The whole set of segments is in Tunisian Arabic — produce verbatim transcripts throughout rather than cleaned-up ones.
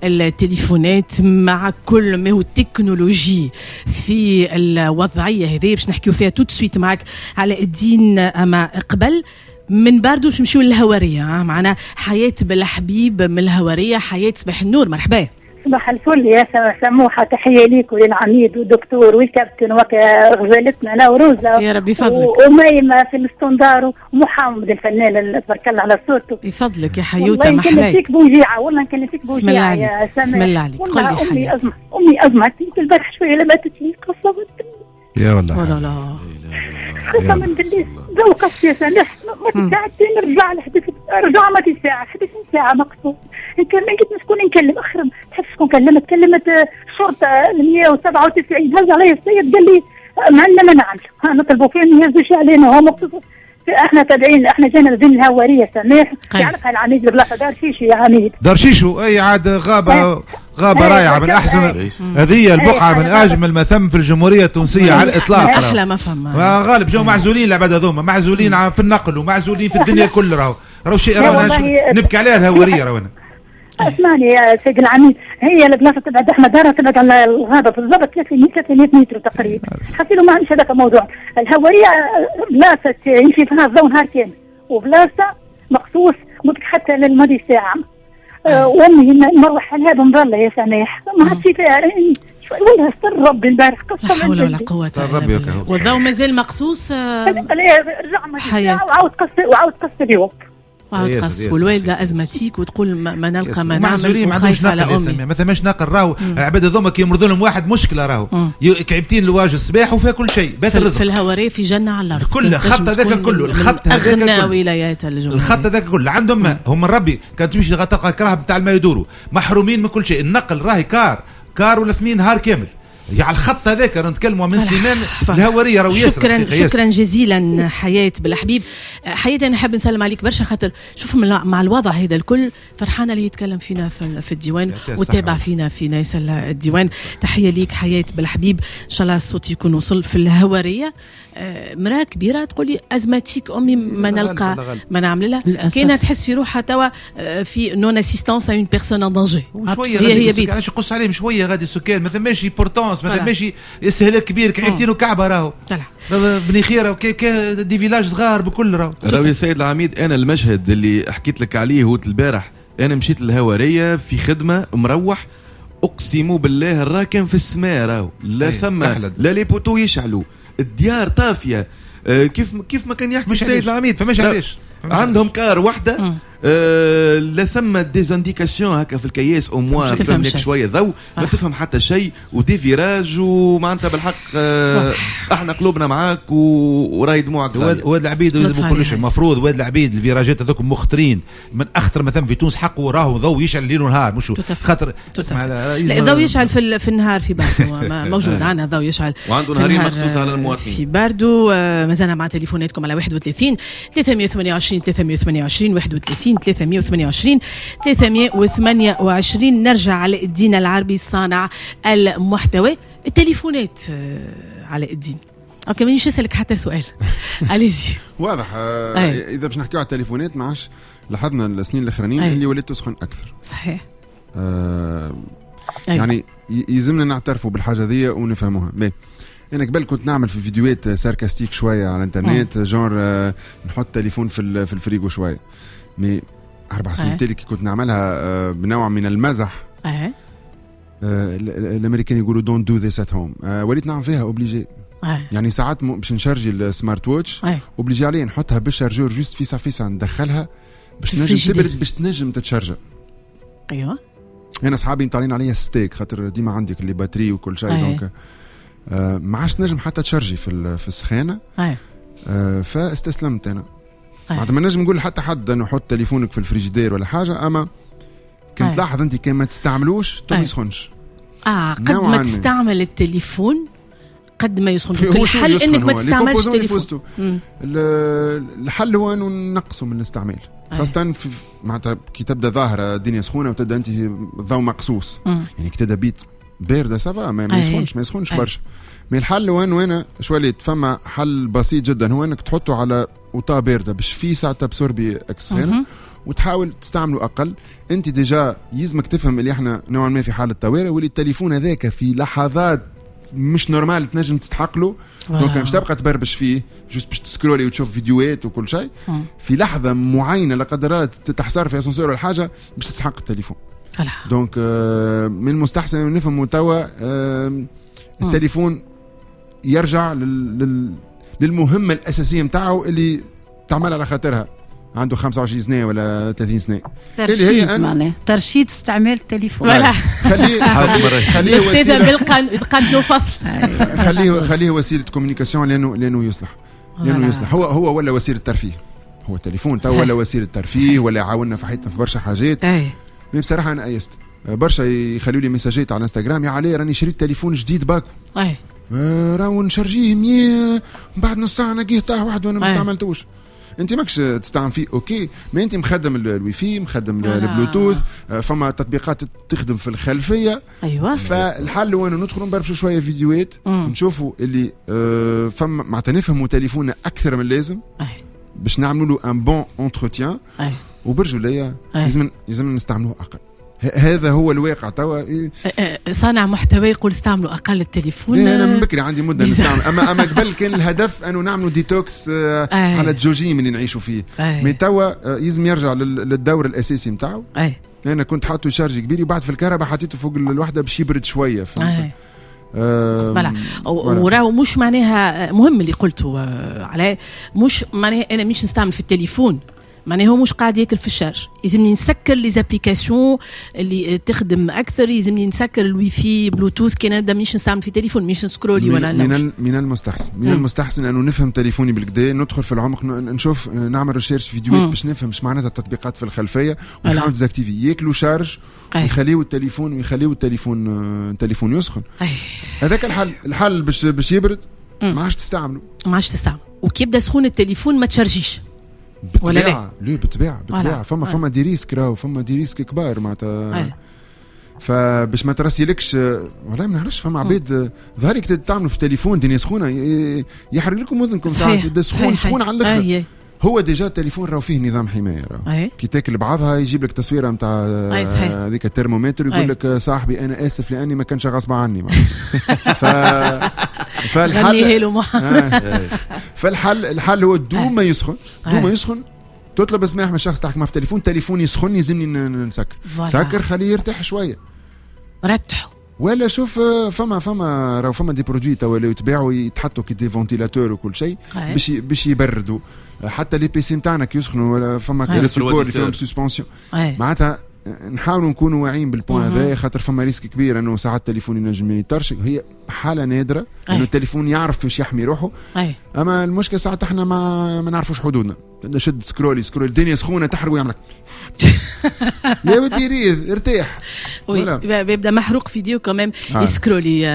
التليفونات، مع كل ما هو التكنولوجي في الوضعية هذه باش نحكيو فيها tout de suite معك علاء الدين. اما قبل من باردو باش نمشيو للهواريه، معنا حياة بالحبيب من الهواريه. حياة، صباح النور، مرحبا. صباح الفل يا سموحة، تحية ليك وللعميد والدكتور والكابتن وغزالتنا نوروزة. يا ربي يفضلك. وأميمة في ال standard ومحمد الفنان، تبارك الله على صوته. يفضلك يا حيوتة. والله نكلم فيك بوجيعة، والله نكلم فيك بوجيعة يا سماح. بسم الله عليك، قل لي. أمي أزمة، أمي أزمة البارح شوية لما لي قصة. يا والله لا لا. قسما بالله ذوقت يا سامح ما ساعتين رجع لحدث، رجع ما ساعة حداش ساعة مقصود. نكلم قلت شكون نكلم اخر، تحس شكون كلمت؟ كلمت الشرطة مية وسبعة وتسعين، هز علي السيد قال لي ما عندنا ما نعمل، نطلبوا فيهم يهزوا علينا، هو مقصود احنا تابعين، احنا جينا بين الهواريه سامح يعرفها العميد البلاصة دار شيشو يا عميد. دار شيشو، اي عاد غابه غابه رائعة، من احسن هذه البقعة، من اجمل ما ثم في الجمهورية التونسية على الاطلاق. احلى ما فما غالب جو معزولين العباد هذوما، معزولين في النقل ومعزولين في الدنيا كل. راهو راهو شيء راهو نبكي عليها الهواريه راهو. اسمعني يا سيد العميد، هي البلاصة تبعد احمد دارها تبعد على الغابة بالضبط ثلاثمية متر تقريبا. حسيلو ما عندش هذاك الموضوع. الهواريه بلاصة يمشي فيها الضوء نهار كامل، وبلاصه مقصوص ممكن حتى للماضي ساعة. أه وامي نروح لها بمظله يا سماح، ما عادش فيها والله استر ربي البارح قصة. لا حول ولا قوة الا بالله. والضوء مازال مقصوص. رجع وعاود قص، وعاود قص اليوم. وعاود قص، والوالدة asthmatique وتقول ما نلقى ما نعمل وخايفة على امي. ما ثماش نقل راهو. العباد هذوما كي يمرضوا لهم واحد مشكلة راهو، كعبتين لواج الصباح وفيها كل شيء، بات الرزق. في الهواريه في جنة على الارض. كل الخط هذاك كله، الخط هذاك اغنى ولايات الجمهورية، الخط هذاك كله عندهم ما هم من ربي. كان تمشي تلقى كراهب نتاع الماء يدوروا، محرومين من كل شيء. النقل راهي car car ولا اثنين نهار كامل يعني الخط هذاك نتكلموا من سليمان الهواريه. شكرا شكرا جزيلا حياة بالحبيب. حياة انا نحب نسلم عليك برشا، خاطر شوف مع الوضع هذا الكل فرحانة اللي يتكلم فينا في الديوان وتابع فينا في ناس الديوان. تحية ليك حياة بالحبيب، ان شاء الله الصوت يكون وصل في الهواريه. مراة كبيرة تقول لي asthmatique امي ما نلقى ما نعمل لها، كاينه تحس في روحها توا في non assistance à une personne en danger. هي هي بيت علاش يقص عليهم شوية غادي السكان، ما ثماش importance، ما ثماش استهلاك كبير، كعيبتين وكعبه راهو بني خيره وكي des villages صغار بكل راهو. راهو يا سيد العميد، انا المشهد اللي حكيت لك عليه هو البارح، انا مشيت للهواريه في خدمة مروح، اقسم بالله الراكن في السماء راهو، لا ثم لا les poteaux يشعلوا، الديار طافية. آه كيف كيف ما كان يحكي السيد العميد، فماش علاش عندهم car واحدة، آه لا ثم des indications هكا في الكياس au moins تفهم لك شوية ضوء، ما تفهم حتى شيء، و des virages ومعناتها بالحق. آه احنا قلوبنا معاك وراي دموعك. واد العبيد لازم كل شيء المفروض. واد العبيد ال virage ات هذوك مخطرين، من اخطر مثلا في تونس حقه راهو ضوء يشعل ليل ونهار، مش خاطر لا ضوء يشعل في, في النهار في باردو موجود عندنا ضوء يشعل وعنده نهارين مخصوص على المواطنين في باردو. آه مازلنا مع تليفوناتكم على واحد وثلاثين ثلاثمية وثمانية وعشرين ثلاثمية وثمانية وعشرين واحد وثلاثين ثلاثمية وثمانية وعشرين ثلاثمية وثمانية وعشرين. نرجع على الدين العربي صانع المحتوى. التليفونات على الدين، okay مانيش نسألك حتى سؤال. allez-y. واضح. آه اذا باش نحكيو على التليفونات، ما عادش لاحظنا السنين الاخرانيين اللي ولات تسخن اكثر. صحيح. آه يعني يلزمنا نعترفوا بالحاجة ذي ونفهموها. mais انا قبل كنت نعمل في فيديوهات sarcastiques شوية على الانترنت، genre نحط تليفون في في الفريغو شوية، mais اربع سنين تالي كي كنت نعملها بنوع من المزح. أه. آه الامريكان يقولوا don't do this at home، وليت نعمل فيها obligé. أه. يعني ساعات باش نشارجي ال smartwatch obligé عليه نحطها بال chargeur juste فيسا فيسا ندخلها باش تنجم تبرد، باش تنجم تتشارجا. ايوه. انا اصحابي مطالعين عليا ستيك خاطر ديما عندك les batteries وكل شيء. أه. donc آه ما عادش نجم حتى تشارجي في في السخانه. أه. آه فاستسلمت انا. معناتها ما نجم نقول حتى حد انه حط تليفونك في الفريجيدير ولا حاجة، اما كان تلاحظ انت كان ما تستعملوش تو ما يسخنش. اه قد ما تستعمل التليفون قد ما يسخن. الحل انك ما تستعملش التليفون. الحل هو انه نقصوا من الاستعمال، خاصة في معناتها كي تبدا ظاهره الدنيا سخونة وتبدا انت الضوء مقصوص. يعني كي تبدا بيت باردة ça va ما يسخنش، ما يسخنش برشا. mais الحل هو انه انا شواليت فما حل بسيط جدا، هو انك تحطه على وطا باردة باش في ساعة ت absorber السخانه، وتحاول تستعمله اقل. انت déjà يلزمك تفهم اللي احنا نوعا ما في حاله طوارئ، واللي التليفون هذاك في لحظات مش normal تنجم تستحق له، donc مش تبقى تبربش فيه juste باش تسكرولي وتشوف فيديوهات وكل شيء. في لحظة معينة لا قدر الله تحصر في اسانسور ولا حاجة باش تستحق التليفون. donc من المستحسن نفهموا توا التليفون يرجع لل... للمهمه الاساسية نتاعو اللي تعمل على خاطرها، عنده خمسة وعشرين سنة ولا ثلاثين سنة. ترشيد معناه ترشيد استعمال التليفون. خليه خليه الاستاذة بالقان فصل، خليه خليه وسيلة communication، لانه لانه يصلح، لانه يصلح هو هو ولا وسيلة ترفيه، هو التليفون تو ولا وسيلة ترفيه ولا يعاوننا في حياتنا في برشا حاجات. بصراحة انا ايست برشا يخلوا لي ميساجات على الانستغرام، يا علي راني شريت تليفون جديد باكو اي راهو نشارجيه مية بعد نص ساعة نلقيه طاح وحده وانا ما استعملتوش. انت ماكش تستعمل فيه OK، ما انت مخدم الويفي، مخدم البلوتوث، فما تطبيقات تخدم في الخلفية. ايوه. فالحل هو انه ندخلوا نبربشوا شوية فيديوهات، نشوفوا اللي فما معناتها نفهموا تليفوننا اكثر من اللازم باش نعملوا له un bon entretien، وبرجوليه لازم لازم نستعملوه اقل. هذا هو الواقع توا. صانع محتوى يقول استعملوا اقل التليفون. انا من بكري عندي مده نستعمل، اما اما قبل كان الهدف انه نعملوا détox على الجوجيم اللي نعيشوا فيه. mais توا يلزم يرجع للدور الاساسي نتاعو. انا كنت حاطه charge كبير وبعد في الكهرباء حطيته فوق الوحدة باش يبرد شوية، فهمت؟ voilà. وراهو مش معناها مهم اللي قلته على مش معناها انا مش نستعمل في التليفون، معناها هو مش قاعد ياكل في ال charge. يلزمني نسكر les applications اللي تخدم اكثر، يلزمني نسكر الويفي بلوتوث كي نبدا مش نستعمل في تليفون، مش نسكرولي ولا لا. من من المستحسن من مم. المستحسن انه نفهم تليفوني بالكدا، ندخل في العمق، نشوف، نعمل recherche فيديوهات باش نفهم اش معناتها التطبيقات في الخلفية، ونحاول désactiver ياكلوا charge ويخليو التليفون ويخليو التليفون التليفون يسخن. هذاك الحل. الحل باش باش يبرد ما عادش تستعمله، ما عادش تستعمل، وكي يبدا سخون التليفون ما تشارجيش. بالطبيعة ليه بالطبيعة بالطبيعة فما فما des risques راهو، فما des risques كبار معناتها. فباش ما ترسيلكش والله ما نعرفش، فما عباد ظهرك تعملوا في التليفون دنيا سخونة يحرق لكم اذنكم ساعات سخون سخون على الاخر. هو déjà التليفون راهو فيه نظام حماية، راهو كي تاكل بعضها يجيب لك تصويره نتاع هذيك الترمومتر يقول لك صاحبي انا اسف لاني ما كانش غصب عني. ف فالحل فالحل الحل هو دوم ما يسخن، دوم ما يسخن تطلب سماح من الشخص تحكي معه في التليفون، تليفون يسخن يلزمني نسكر، سكر خليه يرتاح شوية، رتحه. ولا شوف فما فما راهو فما des produits توا اللي يتباعوا يتحطوا كي des ventilateurs وكل شيء باش باش يبردوا حتى les PC نتاعنا كي يسخنوا، ولا فما les supports اللي فيهم suspension. معناتها نحاولوا نكونوا واعيين بال point هذا، خاطر فما risque كبير انه ساعات التليفون ينجم يطرشق. هي حاله نادرة انه التليفون يعرف كيفاش يحمي روحه، اما المشكلة ساعات احنا ما ما نعرفوش حدودنا، نشد سكرولي سكرولي الدنيا سخونة تحرق ويعملك يا ودي ريض ارتاح، بيبدا محروق فيديو كمان يسكرولي.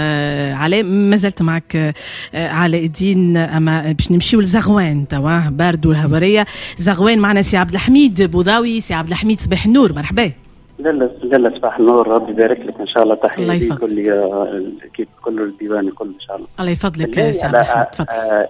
علاء ما زلت معك علاء الدين، اما باش نمشيو لزغوان توا باردو الهواريه. زغوان معنا سي عبد الحميد بوضاوي. سي عبد الحميد صباح النور، مرحبا. لا لا صباح النور، ربي يبارك لك ان شاء الله. تحية لكل كيف كل الديوان الكل ان شاء الله. الله يفضلك يا سي عبد الحميد، تفضل.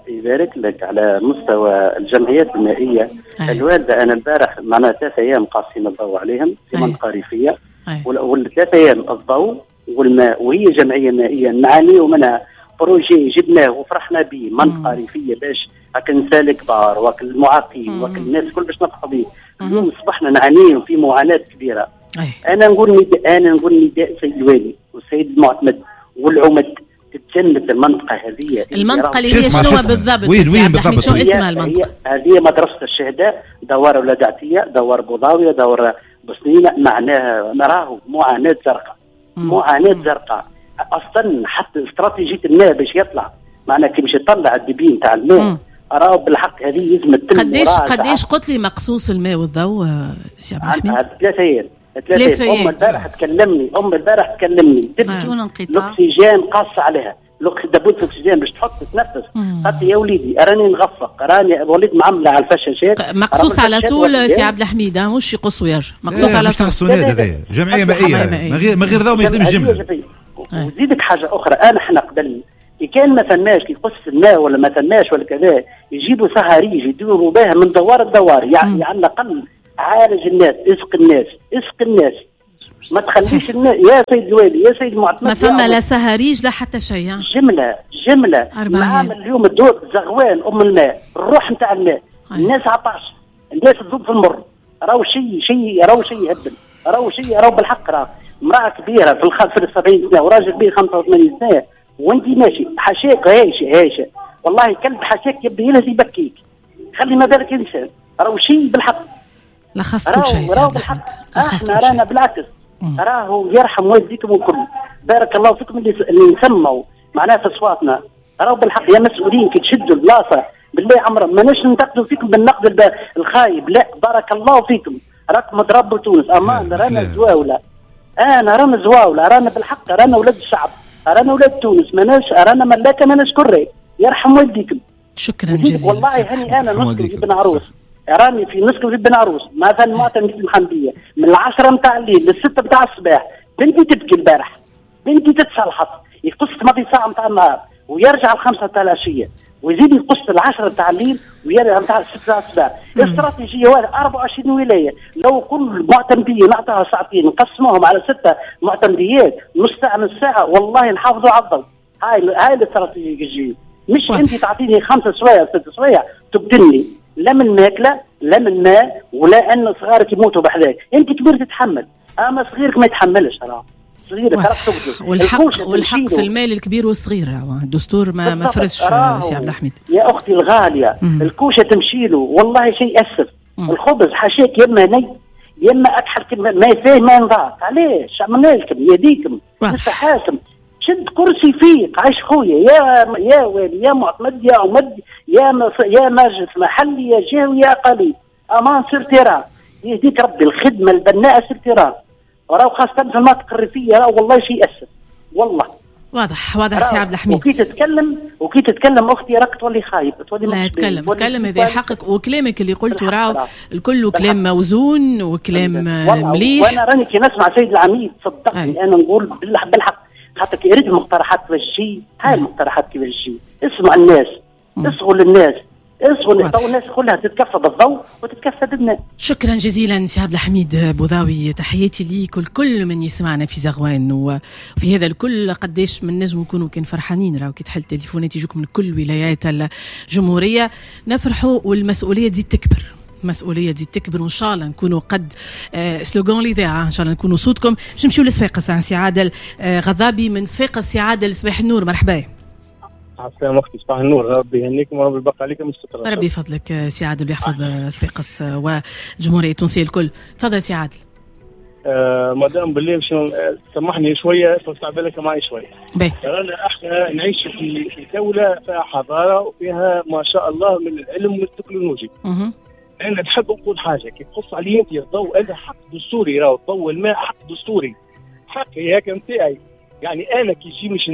يبارك لك. على مستوى الجمعيات المائية أي. الوالدة انا البارح معناها ثلاث ايام قاصين الضوء عليهم في منطقة ريفيه، والثلاث ايام الضوء والماء، وهي جمعية مائية نعاني منها. projet جبناه وفرحنا به منطقة ريفيه باش هاك النساء الكبار وهاك المعاقين وهاك الناس الكل باش نفرحوا به. اليوم اصبحنا نعاني في معاناة كبيرة. أي. انا نقول نداء، انا نقول نداء السيد الوالي والسيد المعتمد والعمد تتجنب المنطقة هذه. المنطقة اللي هي شنو بالضبط؟ وين وين بالضبط؟ شنو اسمها المنطقة؟ هذه مدرسه الشهداء، دوار ولاد عتيه، دوار بوضاويه، دوار بسنينه. معناها نراه معاناة زرقاء، معاناة زرقاء اصلا. حتى استراتيجية الماء باش يطلع، معناها كي باش يطلع ال débit نتاع الماء راهو بالحق هذه لازم تتم. قداش قداش قلت لي مقصوص الماء والضوء سي عبد الحميد؟ ثلاثة ايام. ثلاثة أيام. أم البارح تكلمني، أم البارح تكلمني بدون انقطاع. الأكسجين قص عليها، دبوت الأكسجين باش تحط تتنفس. قالت يا وليدي راني نغفق، راني وليت معملة على الفشاشات. مقصوص على طول سي عبد الحميد، مش يقص ويرجع، مقصوص على طول. مش تاع هذايا جمعية مائية، من غير من غير ضوء ما يخدمش جملة. وزيدك حاجة أخرى، أنا احنا قبل كي كان ما ثماش كي يقص الماء ولا ما ثماش ولا كذا، يجيبوا صهاريج يدوروا بها من دوار لدوار، يعني على الأقل عالج الناس، اسق الناس، اسق الناس، ما تخليش الناس يا سيد الوالي يا سيد المعتمد. ما فما لا سهريج لا حتى شيء. جملة جملة معامل اليوم الدور زغوان ام الماء، الروح نتاع الماء، الناس عطاش، الناس تذوب في المر، راهو شيء شيء راهو شيء يهبل، راهو شيء راهو بالحق. راه امراة كبيرة في الخ في السبعين سنة وراجل كبير خمسة وثمانين سنة وانت ماشي حاشاك هايشه هايشه، والله كلب حاشاك يبدا يلهز يبكيك، خلي ما بالك انسان، راهو شيء بالحق. لخصت كل شيء سي عبد الحميد، احنا رانا بالعكس راهو يرحم والديكم الكل، بارك الله فيكم اللي اللي نسموا معناها في اصواتنا، راهو بالحق يا مسؤولين كي تشدوا البلاصة بالله عمرنا ماناش ننتقدوا فيكم بالنقد الخايب، لا بارك الله فيكم، راكم تربوا تونس، امان رانا زواوله، انا رانا زواوله، رانا بالحق رانا ولاد الشعب، رانا ولاد تونس، ماناش رانا ملاكه ماناش كري، يرحم والديكم. شكرا جزيلا. والله هاني انا نسكن في بن عروس، راني في نسكن في بن عروس مثلا معتمد المحمدية من العشرة نتاع الليل للستة نتاع الصباح، بنتي تبكي البارح، بنتي تتصلحط، يقص ماضي ساعة نتاع النهار ويرجع الخمسة نتاع العشية ويزيد يقص العشرة نتاع الليل ويرجع نتاع الستة نتاع الصباح. استراتيجية أربعة وعشرين ولاية، لو كل معتمديه نعطيها ساعتين نقسموهم على ستة معتمديات نص ساعة نص ساعة، والله نحافظوا على الضوء. هاي هاي الاستراتيجية الجديدة، مش انت تعطيني خمسة سوايع ست سوايع تبدلني لا من ماكله لا من ماء ولا ان صغارك يموتوا بحذاك، انت كبير تتحمل، اما صغيرك ما يتحملش. راه صغيرك راك تقتل. والحق والحق في المال الكبير والصغير، الدستور ما ما فرزش سي عبد الحميد. يا اختي الغالية مم. الكوشة تمشي له والله شيء يأسف. الخبز حاشاك يما ني يما اكحل ما فيه ما ينضاق، علاش عملنا لكم يديكم نستحاكم. شد كرسي فيك عايش خويا يا يا والي يا معتمد يا عمد يا يا مجلس محلي يا جهوي يا قليل، امان sur terrain يهديك ربي. الخدمة البناءه sur terrain، راهو خاصة في المناطق الريفية راهو والله شيء يأسف والله. واضح واضح سي عبد الحميد. وكي تتكلم وكي تتكلم اختي راك تولي خايب، تولي لا تكلم تكلم هذا حقك، وكلامك اللي قلته راهو الكل كلام موزون وكلام مليح. وانا راني كي نسمع سيد العميد صدقني انا نقول بالحق، خاطر كي يريد المقترحات كيفاش تجي، هاي المقترحات كيفاش تجي، اسمع الناس، اصغوا للناس، اصغوا تو الناس كلها تتكفى بالضوء وتتكفى بالماء. شكرا جزيلا سي عبد الحميد بوضاوي، تحياتي ليك والكل من يسمعنا في زغوان. وفي هذا الكل قداش من نجم نكونوا كان فرحانين، راهو كي تحل التليفونات يجوك من كل ولايات الجمهورية، نفرحوا والمسؤولية تزيد تكبر، مسؤولية تزيد تكبر، وان شاء الله نكونوا قد آه slogan الاذاعة، ان شاء الله نكونوا صوتكم. باش نمشيو لصفاقس، سي عادل آه غضابي من صفاقس. سي عادل صباح النور، مرحبا. السلام اختي، صباح النور، ربي يهنيكم وربي يبقى عليكم الستر. ربي يفضلك سي عادل ويحفظ صفاقس والجمهوريه التونسية الكل. تفضل سي عادل. آه مدام بالله باش سامحني شوية توسع بالك معي شوية. رانا احنا نعيش في في دولة فيها حضارة وفيها ما شاء الله من العلم والتكنولوجيا. انا نحب نقول حاجة كي تقص علي انت الضوء هذا حق دستوري، راهو الضوء والماء حق دستوري، حقي هكا نتاعي. يعني انا كي يجي باش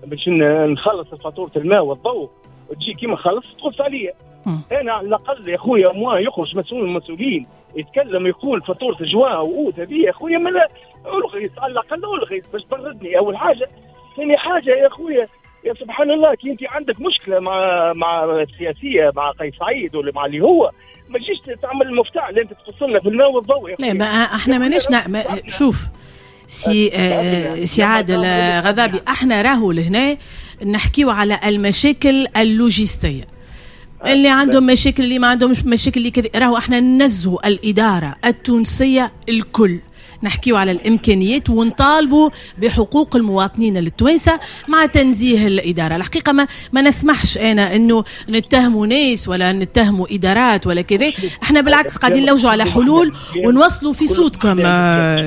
باش نخلص فاتورة الماء والضوء وتجي كيما خلص تقص عليا. انا على الاقل يا خويا moi يخرج مسؤول من المسؤولين يتكلم يقول فاتورة جوان واوت هذه يا خويا ما الغيت، على الاقل الغيت باش تبردني اول حاجة. ثاني حاجة يا خويا يا سبحان الله، كي انت عندك مشكلة مع مع السياسية مع قيس سعيد ولا مع اللي هو، ما تجيش تعمل المفتاح اللي انت تقص لنا في الماء والضوء. لا ما احنا ماناش ما شوف سي آه سي عادل غضابي، احنا راهو لهنا نحكيو على المشاكل اللوجستية، اللي عندهم مشاكل اللي ما عندهمش مشاكل اللي كذا، راهو احنا ننزهوا الادارة التونسية الكل، نحكيو على الامكانيات ونطالبوا بحقوق المواطنين التوانسة مع تنزيه الادارة. الحقيقة ما ما نسمحش انا انه نتهموا ناس ولا نتهموا ادارات ولا كذا، احنا بالعكس قاعدين نلوجوا على حلول ونوصلوا في صوتكم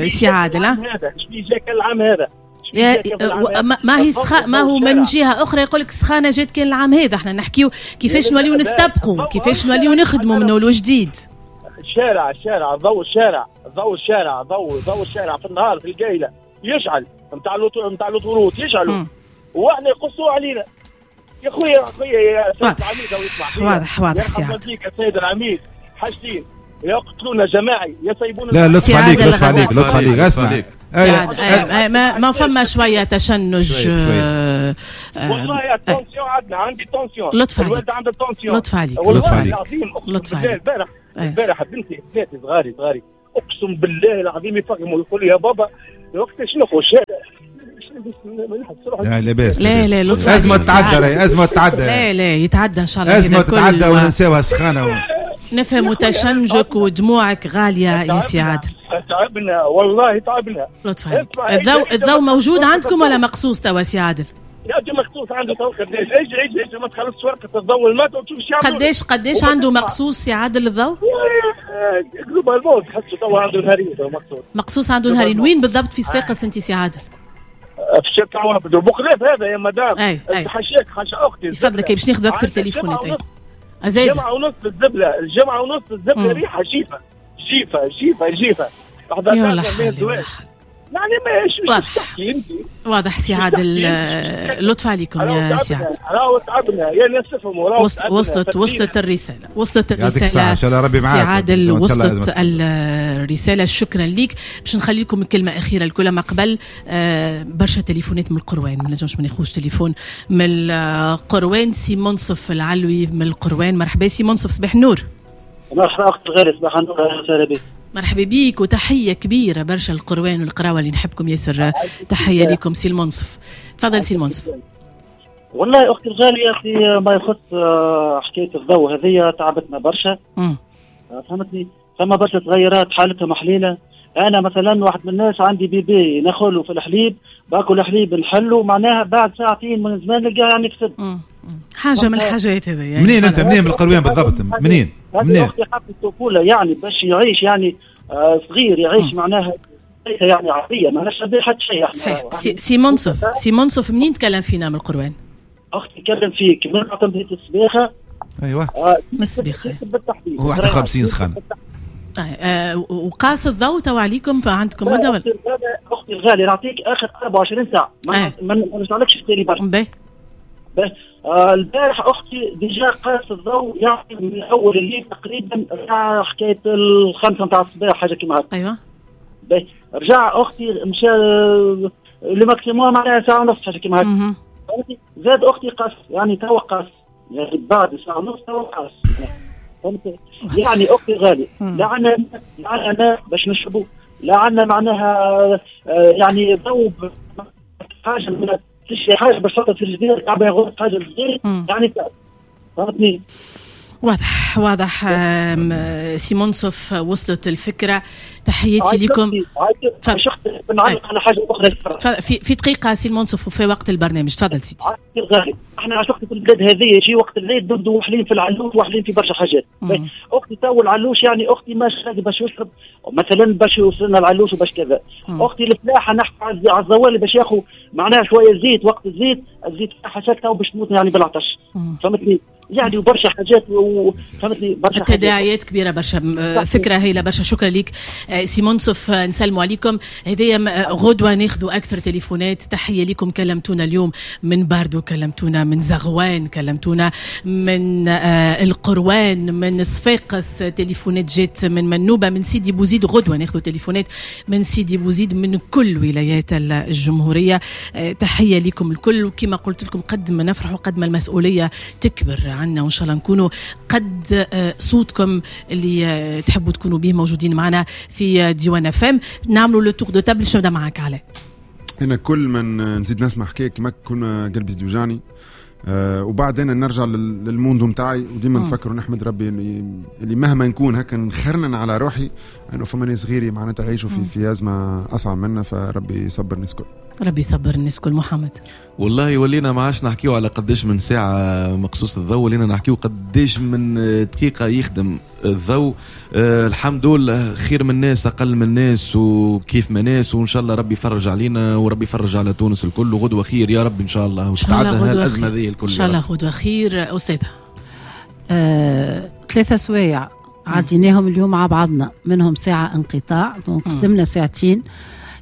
سي عادل. هذا جاك العام هذا ما هي سخا، ما هو من جهة اخرى يقول لك سخانه جات كان العام هذا، احنا نحكيو كيفاش نوليو نستبقوا، كيفاش نوليو نخدموا من اول وجديد. الشارع الشارع ضوء الشارع ضوء الشارع ضوء ضوء الشارع في النهار في القايله يشعل نتاع نتاع l'autoroute يشعلوا واحنا يقصوا علينا يا خويا. يا خويا يا سيد العميد او يسمع واضح واضح سي عادل. السيد العميد حاجتين، يقتلونا جماعي يسيبونا. لا لطف عليك لطف عليك لطف عليك اسمع ما ما فما شوية تشنج والله يا tension عندنا، عندي tension. لطف عليك، الوالد عنده tension. لطف عليك، لطف عليك العظيم. لطف عليك. البارح البارح بنتي بناتي صغاري صغاري اقسم بالله العظيم يفهموا، يقول يا بابا وقتاش نخرج لا لاباس، لا لا لطف، أزمة تتعدى، راهي أزمة تتعدى. لا لا يتعدى إن شاء الله، أزمة تتعدى وننساوها سخانة و... نفهم تشنجك ودموعك غالية يا سي عادل. تعبنا والله تعبنا. لطف عليك. الضوء الضوء موجود عندكم ولا مقصوص توا سي عادل؟ يا مقصوص عنده تو قداش؟ اجي اجي اجي ما تخلصش ورقة الضوء الماء وتشوف شو قداش قداش عنده مقصوص سي عادل الضوء؟ globalement تحسه توا عنده نهارين مقصوص. مقصوص عنده نهارين. وين بالضبط في صفاقس انت سي عادل؟ في الشركة عوابد بوخلاف هذا يا مدام. حاشاك حاشا اختي. تفضلك باش ناخذ اكثر تليفونات. زاد جمعة ونص الزبلة، الجمعة ونص الزبلة ريحة جيفة جيفة جيفة جيفة. يا حالي يعني ما تحكي انت. واضح سي عادل، لطف عليكم يا سي عادل. راهو تعبنا يا ناس تفهموا، راهو وصلت وصلت الرسالة، وصلت الرسالة ان شاء الله ربي معاك سي عادل، وصلت الرسالة. شكرا ليك. باش نخلي لكم الكلمة أخيرة الكل ما قبل آه برشا تليفونات من القروان، ما نجمش ما ناخذش تليفون من القروان. سي منصف العلوي من القروان، مرحبا سي منصف، صباح النور. مرحبا أخت الغالي، صباح النور، أهلا وسهلا بك. مرحبا بيك وتحية كبيرة برشا القروان والقراوة اللي نحبكم ياسر، تحية لكم سي المنصف. تفضل سي المنصف. والله أختي الغالية في ما يخص حكاية الضوء هذه تعبتنا برشا. فهمتني، ثم برشا تغيرات حالتها حليلة. أنا مثلا واحد من الناس عندي bébé نخله في الحليب، باكل حليب نحله معناها بعد ساعتين من زمان نلقاه يعني فسد. حاجة من الحاجات هذه يعني. منين أنت؟ منين من القروان بالضبط؟ منين؟ منين؟ أختي حق الطفولة يعني باش يعيش يعني آه صغير يعيش معناها يعني عادية، ما ناش حتى شيء. صحيح. سي, سي منصف، سي منصف منين تكلم فينا من القروان؟ أختي تكلم فيك من معتمدية السبيخة. أيوه آه من السبيخة. هو واحد وخمسين سخان. آه وقاس الضوء تو عليكم فعندكم مدة ولا؟ أختي الغالية نعطيك آخر أربعة وعشرين ساعة، ما ما نرجعلكش التالي برشا. باهي. آه البارح اختي déjà قاس الضوء يعني من اول الليل تقريبا رجع حكاية الخمسة نتاع الصباح حاجة كيما هكا. ايوه. باهي رجع اختي مشى le maximum معناها ساعة ونص حاجة كيما هكا. زاد اختي قاس يعني توا قاس يعني بعد ساعة ونص توا قاس. فهمت؟ يعني اختي غالي لا عندنا لا عندنا ماء باش نشربوا، لا عندنا معناها يعني ضوء حاجة من تشري حاجة باش تحطها في الجدير تعبي غرفة حاجة الجدير يعني فهمتني. واضح واضح سي منصف، وصلت الفكرة. تحياتي لكم. نعلق على حاجة اخرى في في دقيقة سي المنصف وفي وقت البرنامج. تفضل سيدي. الغالي احنا عشقت في البلاد هذه يجي وقت العيد نبدو وحلين في العلوش وحلين في برشا حاجات. اختي تو العلوش يعني اختي ماش باش يشرب مثلا باش يوصلنا العلوش وباش كذا. اختي الفلاحة نحكي على الزوالي باش ياخذ معناها شوية زيت وقت الزيت الزيت حاشاك تو باش تموت يعني بالعطش. فهمتني يعني وبرشا حاجات وفهمتني برشا تداعيات كبيرة برشا. فكرة هايلة برشا. شكرا لك سي منصف، نسلموا عليكم. هذايا غدوه ناخذوا اكثر تليفونات. تحية لكم، كلمتونا اليوم من باردو، كلمتونا من زغوان، كلمتونا من القروان، من صفاقس، تليفونات جات من منوبه، من سيدي بوزيد. غدوه ناخذوا تليفونات من سيدي بوزيد، من كل ولايات الجمهورية. تحية لكم الكل، وكما قلت لكم قد ما نفرحوا قد ما المسؤولية تكبر عنا، وان شاء الله نكونوا قد صوتكم اللي تحبوا تكونوا به موجودين معنا في ديوان اف ام. نعملوا le tour de table. باش نبدا معاك علاء. انا كل ما نزيد نسمع حكاية كما كنا قلبي يزيد يوجعني، أه وبعد انا نرجع لل monde نتاعي وديما نفكر ونحمد ربي اللي مهما نكون هكا نخرنن على روحي انه فما ناس غيري معناتها يعيشوا في في ازمة اصعب منا، فربي يصبر الناس الكل. ربي يصبر الناس الكل. محمد، والله ولينا ما عادش نحكيو على قداش من ساعة مقصوص الضوء، ولينا نحكيو قداش من دقيقة يخدم الضوء. أه الحمد لله خير من الناس اقل من الناس وكيف ما ناس، وان شاء الله ربي يفرج علينا وربي يفرج على تونس الكل، وغدوه خير يا رب ان شاء الله، وتتعدى هالازمه هذه الكل ان شاء الله. غدوه خير. استاذه، آه، ثلاثة سوايع عديناهم اليوم مع بعضنا، منهم ساعة انقطاع، donc خدمنا ساعتين.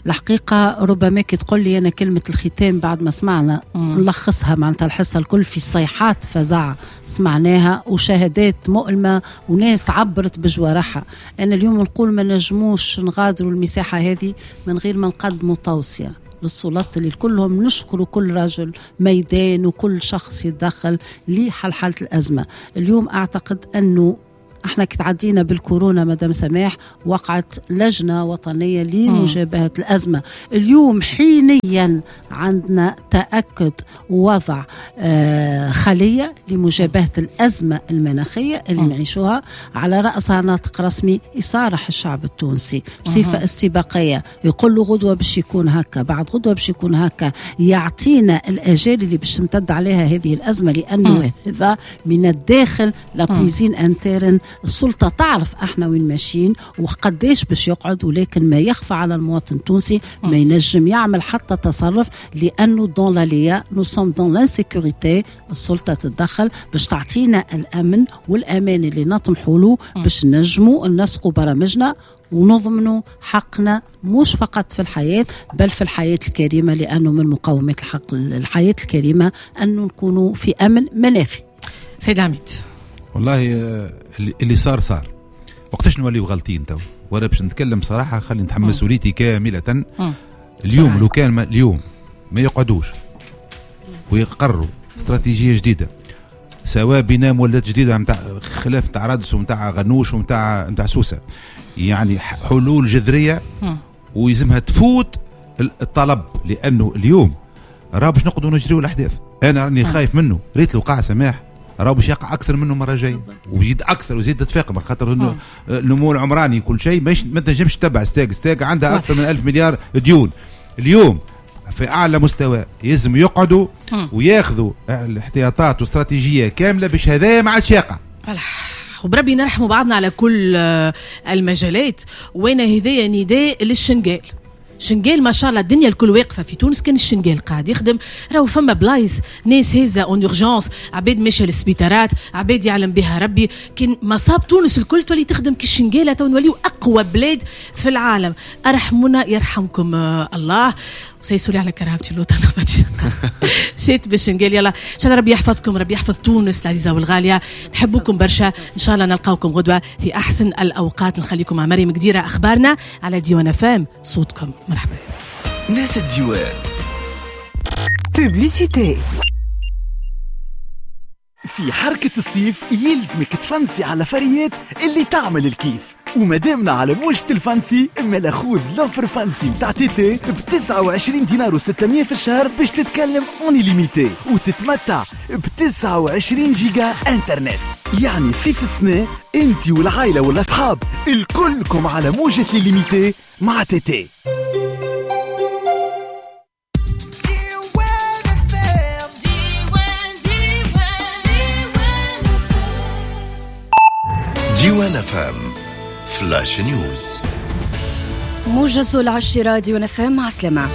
الحقيقة ربما كي تقول لي أنا كلمة الختام بعد ما سمعنا نلخصها، معناتها الحصة الكل في صيحات فزع سمعناها وشهادات مؤلمة وناس عبرت بجوارحها. أنا اليوم نقول ما نجموش نغادروا المساحة هذه من غير ما نقدموا توصية. للسلطات اللي كلهم نشكروا كل رجل ميدان وكل شخص يتدخل لحل حالة الأزمة. اليوم أعتقد أنه احنا كتعدينا بالكورونا مدام سماح، وقعت لجنة وطنية لمجابهة الأزمة. اليوم حينيا عندنا تأكد وضع آه خلية لمجابهة الأزمة المناخية اللي نعيشوها، على رأسها ناطق رسمي يصارح الشعب التونسي بصفة استباقية، يقول له غدوة باش يكون هكا، بعد غدوة باش يكون هكا، يعطينا الأجال اللي باش تمتد عليها هذه الأزمة، لأنه هذا من الداخل la cuisine interne. السلطة تعرف احنا وين ماشيين وقديش باش يقعد، ولكن ما يخفى على المواطن التونسي ما ينجم يعمل حتى تصرف، لأنه dans l'aléa nous sommes dans l'insécurité. السلطة تتدخل باش تعطينا الأمن والأمان اللي نطمحوا له باش نجموا نسقوا برامجنا ونضمنوا حقنا، مش فقط في الحياة بل في الحياة الكريمة، لأنه من مقومات الحق الحياة الكريمة أنه نكونوا في أمن مناخي. سيد عميد، والله اللي صار صار، وقتاش نوليو غلطين تو؟ وانا باش نتكلم صراحة، خلي نتحمل مسؤوليتي كاملة. اليوم لو كان ما اليوم ما يقعدوش ويقروا استراتيجية جديدة، سواء بناء مولدات جديدة نتاع خلاف نتاع رادس ونتاع غنوش ونتاع نتاع سوسة، يعني حلول جذرية ويلزمها تفوت الطلب، لانه اليوم راه باش نقعدوا نجريو الاحداث. انا راني خايف منه، ريت الوقع سماح راه باش يقع اكثر منه مرة جاية، ويزيد اكثر ويزيد تتفاقم، خاطر انه النمو العمراني كل شيء مش ما تنجمش تتبع ستاك ستاك عندها اكثر من ألف مليار ديون. اليوم في اعلى مستوى يلزم يقعدوا وياخذوا الاحتياطات واستراتيجيه كاملة باش هذا ما عادش يقع. وبربي نرحموا بعضنا على كل المجالات. وانا هذايا نداء للشنقال، شنقال ما شاء الله الدنيا الكل واقفة في تونس، كان الشنقال قاعد يخدم، راهو فما بلايص ناس هزه en urgence، عباد ماشية للسبيطارات، عباد يعلم بها ربي. كان مصاب تونس الكل تولي تخدم كي الشنقاله، تو نوليو اقوى بلاد في العالم. ارحمونا يرحمكم الله. وسيسولي على كرهبتي اللوطه مشيت بالشنقال. يلا ان شاء الله ربي يحفظكم، ربي يحفظ تونس العزيزة والغاليه، نحبكم برشا، ان شاء الله نلقاوكم غدوه في احسن الاوقات. نخليكم مع مريم قديره، اخبارنا على ديوان فام، صوتكم. مرحبا ناس الديوان. Publicité. في حركة الصيف يلزمك تفنسي على فريات اللي تعمل الكيف، ومادامنا على موجة الفانسي اما خذ l'offre fancy تاع تي تي ب تسعة وعشرين دينار وستمية في الشهر باش تتكلم en illimité وتتمتع ب تسعة وعشرين جيجا انترنت. يعني صيف السنة انت والعائلة والاصحاب الكلكم على موجة l'illimité مع تي تي. ديوان أف أم flash news، موجز العشرة ديوان أف أم. مع السلامة.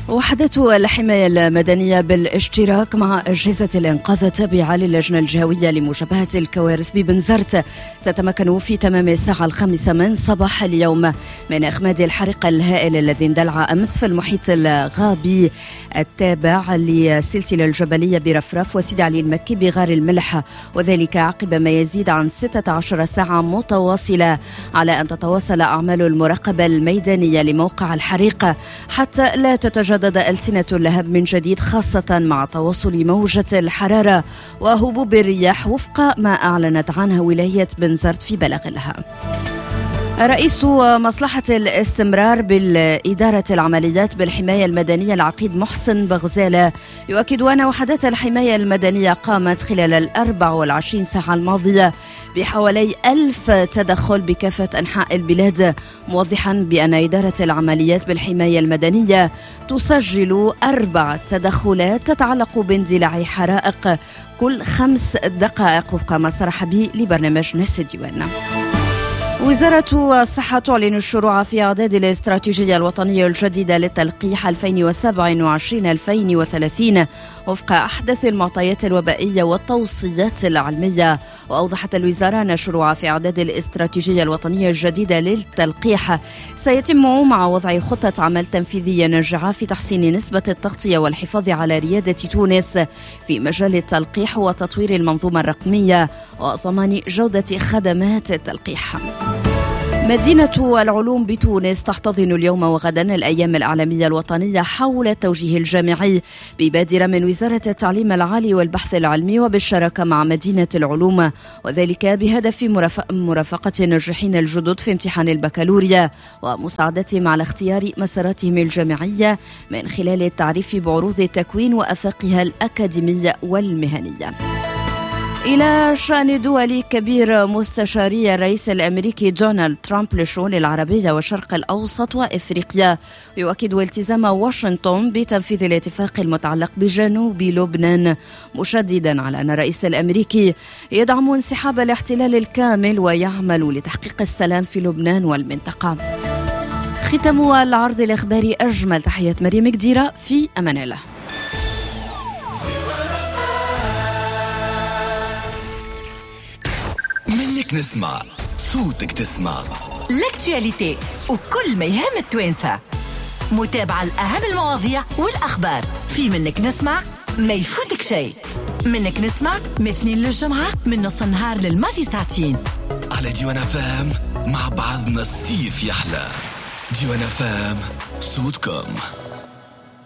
وحدة الحماية المدنية بالاشتراك مع أجهزة الإنقاذ التابعة للجنة الجهوية لمجابهة الكوارث ببنزرت تتمكن في تمام الساعة الخامسة من صباح اليوم من إخماد الحريق الهائل الذي اندلع أمس في المحيط الغابي التابع للسلسلة الجبلية برفرف وسيدي علي المكي بغار الملح، وذلك عقب ما يزيد عن ستة عشر ساعة متواصلة، على أن تتواصل أعمال المراقبة الميدانية لموقع الحريق حتى لا تتجدد ألسنة اللهب من جديد، خاصة مع تواصل موجة الحرارة وهبوب الرياح وفق ما أعلنت عنها ولاية بنزرت في بلاغ لها. رئيس مصلحة الاستمرار بالإدارة العمليات بالحماية المدنية العقيد محسن بغزالة يؤكد أن وحدات الحماية المدنية قامت خلال الأربع والعشرين ساعة الماضية بحوالي ألف تدخل بكافة أنحاء البلاد، موضحا بأن إدارة العمليات بالحماية المدنية تسجل أربع تدخلات تتعلق باندلاع حرائق كل خمس دقائق وفق ما صرح به لبرنامج ناس الديوان. وزارة الصحة تعلن الشروع في إعداد الاستراتيجية الوطنية الجديدة للتلقيح ألفين وسبعة وعشرين ألفين وثلاثين وفق أحدث المعطيات الوبائية والتوصيات العلمية. وأوضحت الوزارة أن الشروع في إعداد الاستراتيجية الوطنية الجديدة للتلقيح سيتم مع وضع خطة عمل تنفيذية ناجعة في تحسين نسبة التغطية والحفاظ على ريادة تونس في مجال التلقيح وتطوير المنظومة الرقمية وضمان جودة خدمات التلقيح. مدينة العلوم بتونس تحتضن اليوم وغدا الأيام الإعلامية الوطنية حول التوجيه الجامعي ببادرة من وزارة التعليم العالي والبحث العلمي وبالشراكة مع مدينة العلوم، وذلك بهدف مرافقة الناجحين الجدد في امتحان البكالوريا ومساعدتهم على اختيار مساراتهم الجامعية من خلال التعريف بعروض التكوين وأفاقها الأكاديمية والمهنية. إلى شأن دولي كبير، مستشاري الرئيس الأمريكي دونالد ترامب للشؤون العربية والشرق الأوسط وإفريقيا يؤكد التزام واشنطن بتنفيذ الاتفاق المتعلق بجنوب لبنان، مشددا على أن الرئيس الأمريكي يدعم انسحاب الاحتلال الكامل ويعمل لتحقيق السلام في لبنان والمنطقة. ختام العرض الإخباري، أجمل تحيات مريم كديرة، في أمان الله. منك نسمع صوتك تسمع l'actualité وكل ما يهم التوانسة، متابعة لأهم المواضيع والأخبار في منك نسمع، ما يفوتك شيء. منك نسمع من اثنين للجمعة من نص النهار للماضي ساعتين على ديوان فام، مع بعضنا الصيف يحلى. ديوان فام، صوتكم.